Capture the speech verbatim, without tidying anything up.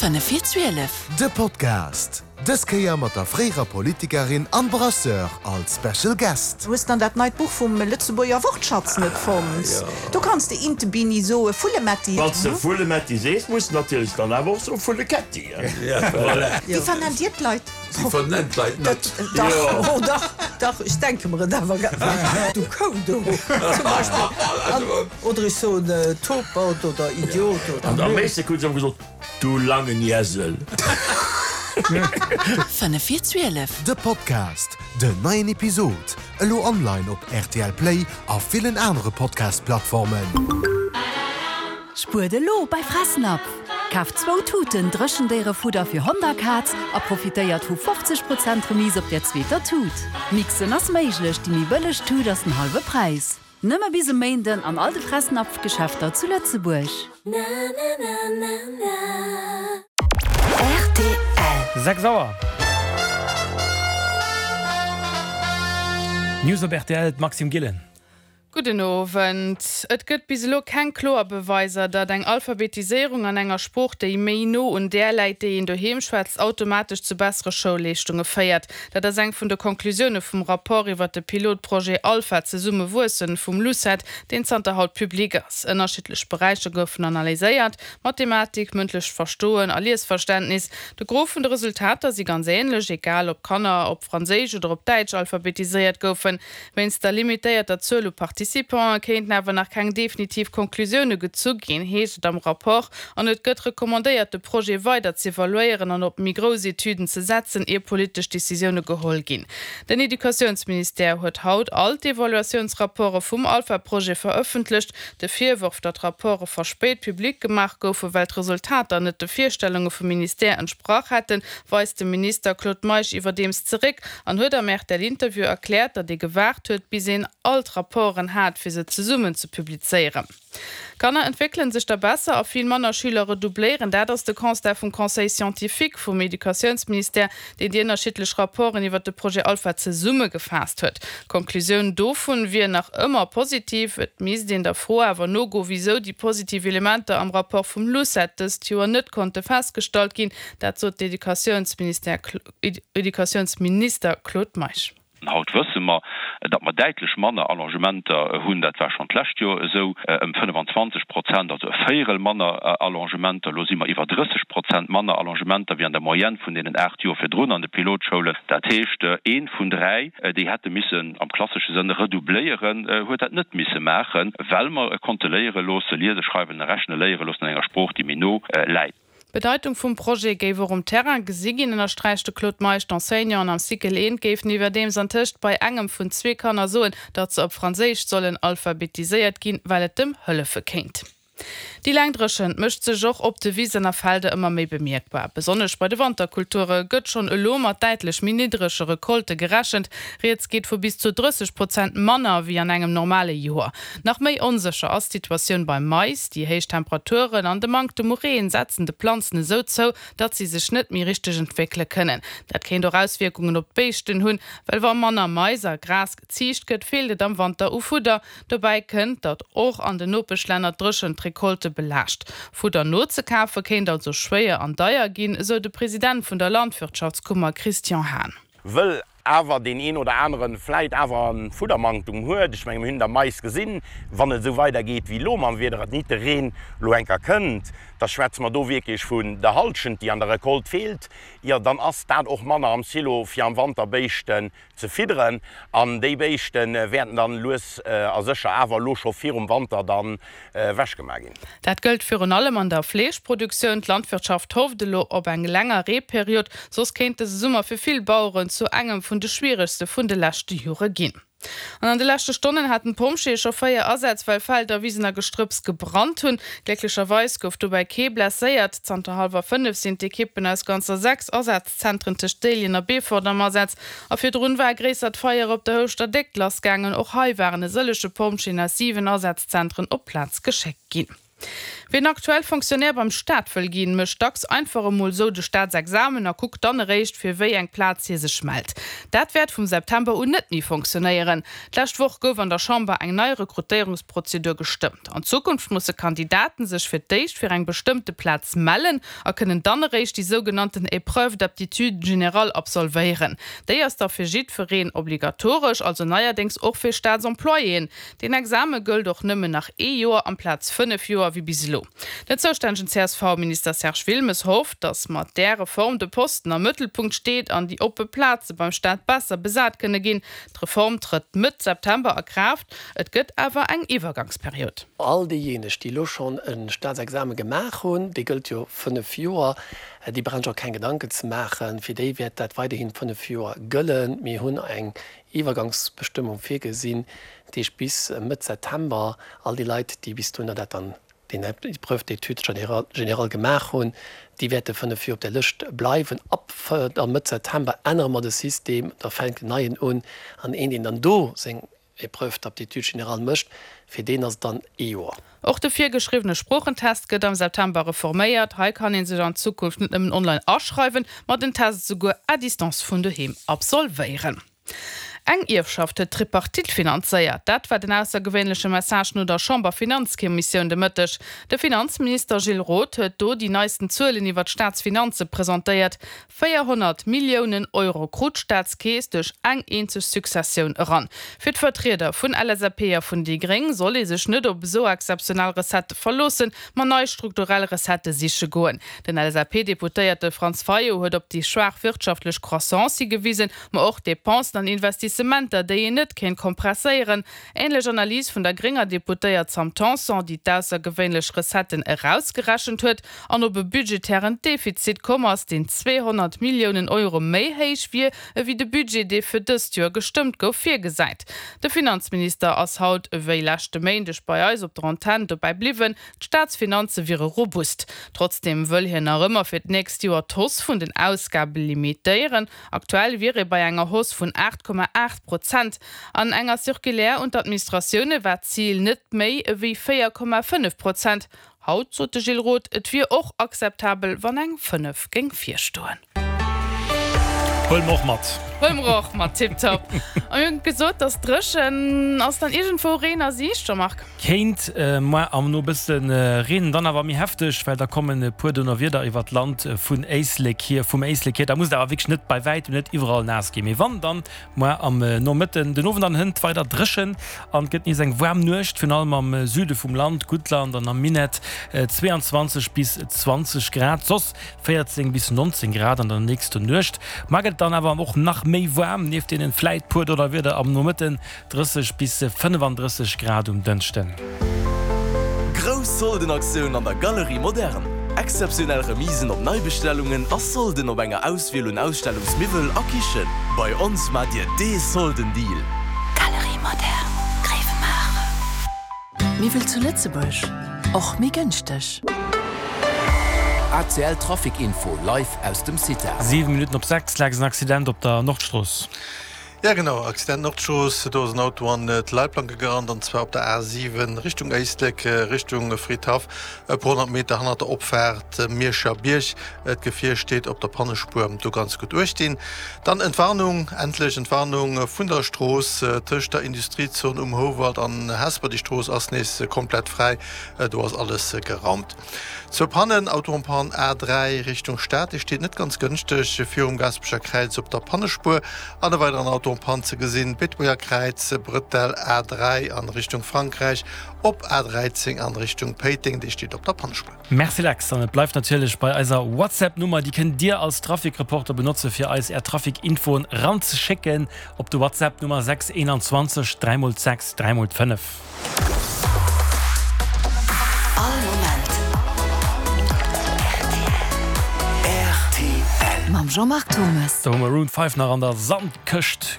Fënnef vir zwielef. De Podcast, dës Kéier mat der fréierer Politikerin an Brasseur als Special Guest. Hues dann dat neit Buch vum Lëtzebuerger Wortschatz net fonnt? Do kanns de Intebini soe, Vullemetti. Wann s de Vullemetti sees, muss de natierlech dann awer och soe Vulleketti. Wéi vernennt Dir d'Leit? Si vernennt d'Leit net. Dach, oh dach, dach, ech denke mer et awer. Du Kou do, zum Beispill. Oder ech soen Topert oder Idiot oder. An am meeschte krut se ëmmer gesot, Du langen Iesel. Fënnef vir zwielef. De Podcast, Den neien Episod elo online op R T L Play a villen anere Podcast-Plattformen. Spuert elo bei Fressnapf! Kaaft zwou Tuten Dréchendéierefudder fir Hond a Kaz a profitéiert vu fofzeg Prozent Remise op der zweeter Tut. Mixen ass méiglech, déi méi bëlleg Tut ass den hallwe Präis. Nëmme bis e Méinden an all de Fressnapf-Geschäfter zu Lëtzebuerg. Rtl. Sechs Auer. News op rtl, d'Maxime Gillen. Gudden Owend. Et gëtt bis elo keng kloer Beweiser, datt eng Alphabetiséierung an enger Sprooch, déi méi no un där läit, déi een doheem schwätzt, automatesch zu bessere Schoulleeschtunge féiert. Dat ass eng vun de Conclusioune vum Rapport iwwer de Pilotprojet Alpha Zesumme wuessen vum LUCET, deen zanter haut public ass. Ënnerschiddlech Beräicher goufen analyséiert, Mathematik, mëndlecht Verstoen a Liesverständnis. De Gros vun de Resultater si ganz änlech, egal ob Kanner op Franséisch oder op Däitsch alphabetiséiert goufen. Wéinst der limitéierter Zuel u Participanten kéinten awer nach keng definitiv Conclusioune gezu ginn, heescht et am Rapport. An et gëtt recommandéiert, de Projet weider z'evaluéieren an op méi grouss Etüden ze setzen, ier politesch Decisioune geholl ginn. Den Educatiounsministère huet haut all d'Evaluatiounsrapporte vum Alpha-Projet verëffentlecht. De Virworf, datt Rapporte verspéit public gemaach goufen, well d'Resultater net de Virstellunge vum Ministère entsprach hätten, weist de Minister Claude Meisch iwwerdeems zeréck an huet am R T L-Interview erkläert, datt ee gewaart huet, bis een all d'Rapporten hat, fir se zesummen ze publizéieren. Kanner entwéckele sech da besser a vill manner Schüler redoubléieren. Dat ass de Constat vum Conseil scientifique vum Educatiounsministère, deen déi ënnerschiddlech Rapporten iwwer de Projet Alpha zesummegefaasst huet. D'Conclusioun dovun wier nach ëmmer positiv. Et misst een der Fro awer nogoen, wisou déi positiv Elementer am Rapport vum LUCET dëst Joer net konnte festgestallt ginn. Dat sot d'Educatiounsminister Claude Meisch. Haut wësse mer, datt mer däitlech manner Allongementer hunn, dat war schonn d'lescht Joer esou, ëm fënnefenzwanzeg Prozent, also e Véierel manner Allongementer. Elo si mer iwwer drësseg Prozent manner Allongementer wéi an der Moyenne vun deenen aacht Joer virdrun an de Pilotschoulen. Dat heescht, ee vun dräi, déi hätte missen am klassesche Sënn redoubléieren, huet dat net misse maachen, well mer konnte léiere loosse, liese, schreiwen a rechne léiere loossen an enger Sprooch, déi méi no läit. D'Bedeitung vum Projet géif och um Terrain gesi ginn, ënnersträicht de Claude Meisch. D'Enseignanten am Cycle eent géifen iwwerdeems antëscht bei engem vun zwee Kanner soen, datt se op Franséisch sollen alphabetiséiert ginn, well et em hëllefe kéint. Déi laang Dréchent mécht sech och op de Wisen a Felder ëmmer méi bemierkbar. Besonnesch bei de Wanterkulture gëtt schonn elo mat däitlech méi niddrege Recolte gerechent. Rieds geet vu bis zu drësseg Prozent manner wéi an engem normale Joer. Nach méi onsécher ass d'Situatioun beim Mais. Déi héich Temperaturen an de Manktem u Reen setzen de Planzen esou zou, datt si sech net méi richteg entwéckele kënnen. Dat kéint och Auswierkungen op d'Béischten hunn, well wa manner Mais a Gras geziicht gëtt, feelt et am Wanter u Fudder. Dobäi kënnt, datt och an den Nopeschlänner d'Dréchent d'Recolte belaascht. Fudder nozekafe kéint also schwéier an deier ginn, esou de President vun der Landwirtschaftskummer Christian Hahn. Wëll awer deen een oder anere vläit awer e Fuddermanktum huet. Ech menge mir hunn et am Mais gesinn, wann et esou weidergeet wéi elo mam Wieder, et nit de Reen elo enker kënnt, da schwätze mer do wierklech vun der Hallschent, déi an der Recolte feelt. Jo, dann ass dat och manner am Silo fir am Wanter Béischten ze fidderen. An déi Béischte wäerten dann lues a sécher awer elo scho virum Wanter dann ewechgemaach ginn. Dat gëllt virun allem an der Fleeschproduktioun. D'Landwirtschaft hofft elo op eng länger Reeperiod, soss kéint dëse Summer fir vill Baueren zu engem vun de schwieregste vun de leschte Jore ginn. An an de leschte Stonnen haten d'Pompjeeë scho véier Asätz, well Felder, Wisen a Gestrëpps gebrannt hunn. Glécklecherweis gouf dobäi kee blesséiert. Zanter hallwer fënnef sinn d'Ekippen aus ganzer sechs Asazzentren tëscht Déiljen a Beefort am Asaz. A virdrun war e gréissert Feier op der Houschter Déckt lassgaangen. Och hei waren e sëllege Pompjeeën aus siwen Asazzentren op d'Plaz geschéckt ginn. Wien aktuell Fonctionnaire beim Staat wëll ginn, mécht dacks einfach emol sou de Staatsexamen a kuckt dann eréischt, fir wéi eng Plaz hie sech mellt. Dat wäert vum September un net méi fonctionnéieren. D'lescht Woch gouf an der Chamber eng nei Rekrutéierungsprozedur gestëmmt. An Zukunft musse Kandidaten sech fir d'éischt fir eng bestëmmte Plaz mellen a kënnen dann eréischt déi sougenannten Épreuve d'aptitude générale absolvéieren. Déi ass da fir jiddwereen obligatoresch, also neierdéngs och fir Staatsemployéen. Deen Exame gëllt och nëmmen nach ee Joer amplaz fënnef Joer wéi bis elo. Den zoustännegen C S V-Minister Serge Wilmes hofft, datt mat där Reform de Posten am Mëttelpunkt steet an déi oppe Plaze beim Staat besser besat kënne ginn. D'Reform trëtt Mëtt September a Kraaft, et gëtt awer eng Iwwergangsperiod. All déijéineg, déi elo schonn e Staatsexame gemaach hunn, dee gëllt jo fënnef Joer, déi brauche sech och keng Gedanken ze maachen, fir déi wäert dat weiderhi fënnef Joer gëllen. Mir hunn eng Iwwergangsbestëmmung virgesinn, dat heescht bis Mëtt September all déi Leit, déi bis dohinner dat dann déi Épreuve d'études générales gemaach hunn, déi wäerte fënnef Joer op der Lëscht bleiwen. Ab Mëtt September ännere mer de System, da fänkt en neien un an een, deen dann do seng Épreuve d'aptitude générale mécht, fir deen ass et dann ee Joer. Och de virgeschriwwene Sproochentest gëtt am September reforméiert. Hei kann ee sech an Zukunft net nëmmen online aschreiwen, ma den Test esouguer à distance vun doheem absolvéieren. Eng Ierfschaft huet d'Tripartite finanzéiert. Dat war den aussergewéinleche Message no der Chamberfinanzkommissioun de Mëtteg. De Finanzminister Gilles Roth huet do déi neisten Zuelen iwwer d'Staatsfinanze presentéiert. véierhonnert Milliounen Euro krut d'Staatskeess duerch eng eenzeg Successioun eran. Fir d'Vertrieder vun L S A P a vun déi Gréng soll ee sech net op esou exzeptionell Recettë verloossen, ma nei strukturell Recettë siche goen. Den L S A P-Deputéierte Franz Fayot huet op déi schwaach wirtschaftlech Croissance higewisen, ma och Depensen an Investissementer, déi een net kéint kompresséieren. Änlech Analys vun der grénger Deputéiert Sam Tanson, déi d'aussergewéinlech Recetten erausgerechent huet an op e budgetären Defizit komm ass, deen zweehonnert Milliounen Euro méi héich wier, ewéi de Budget, dee fir dëst Joer gestëmmt gouf, virgesäit. De Finanzminister ass haut ewéi leschte Méindeg bei eis op der Antenn dobäi bliwwen, d'Staatsfinanze wiere robust. Trotzdeem wëll hien nach ëmmer fir d'nächst Joer d'Hausse vun den Ausgabe limitéieren. Aktuell wier ee bei enger Hausse vun aacht Komma aacht Prozent. An enger Circulaire un d'Administratioune war d'Zil net méi ewéi véier Komma fënnef Prozent. Haut sot de Gilles Roth, et wier och akzeptabel, wann eng fënnef géing virstoen. Huele mer och mat. Huele mer och mat, tiptop. A mir hunn gesot, dass dréchen ass, dann iergendwou Reen a Siicht, Jean-Marc? Kéint muer am No bësse reenen, dann awer méi hefteg, well da kommen e puer Donnerwieder iwwert d'Land vun Éislek hier, vum Éislek hier. Da muss et awer wierklech net bei wäitem net iwwerall naass ginn, mee wann, dann muer am Nomëtten. Den Owend an hënt weider dréchen an et gëtt nees eng waarm Nuecht, virun allem am Süde vum Land, Guttland an am Minett zwee an zwanzeg bis zwanzeg Grad, soss véierzéng bis nonzéng Grad an der nächster Nuecht. Mar gëtt et dann awer och nach méi waarm, nieft deenen vläit puer Donnerwieder am Nomëtten, drësseg bis fënnefandrësseg Grad um Dënschden. Grouss Soldenaktioun an der Galerie Moderne! Exzeptionell Remisen op Neibestellungen a Solden op enger Auswiel un Ausstellungsmiwwel a Kichen. Bei ons maacht Dir dee Soldendeal! Galerie Moderne, Gréiwemaacher. Miwwel zu Lëtzebuerg, och méi gënschteg. A C L Trafic Info live aus dem CITA. Siwe Minutten op sechs, Lex, en Accident op der Nordstrooss. Ja genau, Accident Nordstrooss, do ass en Auto an d'Leitplanke gerannt, an zwar op der A siwen Richtung Éislek, Richtung Fridhaff, e puer honnert Meter hannert der Opfaart Mierscher Bierg. D'Gefier steet op der Pannespuer, do ganz gutt uecht dinn. Dann Entwarnung, endlech Entwarnung vun der Strooss tëscht der Industriezon um Houwald an Hesper, déi Strooss ass nees komplett fräi, do ass alles geraumt. Zwou Pannen, Auto en panne A dräi Richtung Stad, dee steet net ganz gënschteg virum Gaasperecher Kräiz op der Pannespuer an e weideren Auto en panne ze gesinn, Beetebuerger Kräiz, Brëttel A dräi an Richtung Frankräich, op A dräizéng an Richtung Péiteng, dee steet op der Pannespuer. Merci Lex, an et bleift natierlech bei eiser WhatsApp Nummer, déi kënnt Dir als Trafikreporter benotze fir eis Är Trafikinfoen ranzeschécken op de WhatsApp Nummer sechs einundzwanzeg dräi mol sechs dräi mol fënnef. All Moment R T L. Mam Jean-Marc Thomas. Do hu Maroon five nach an der Sandkëscht.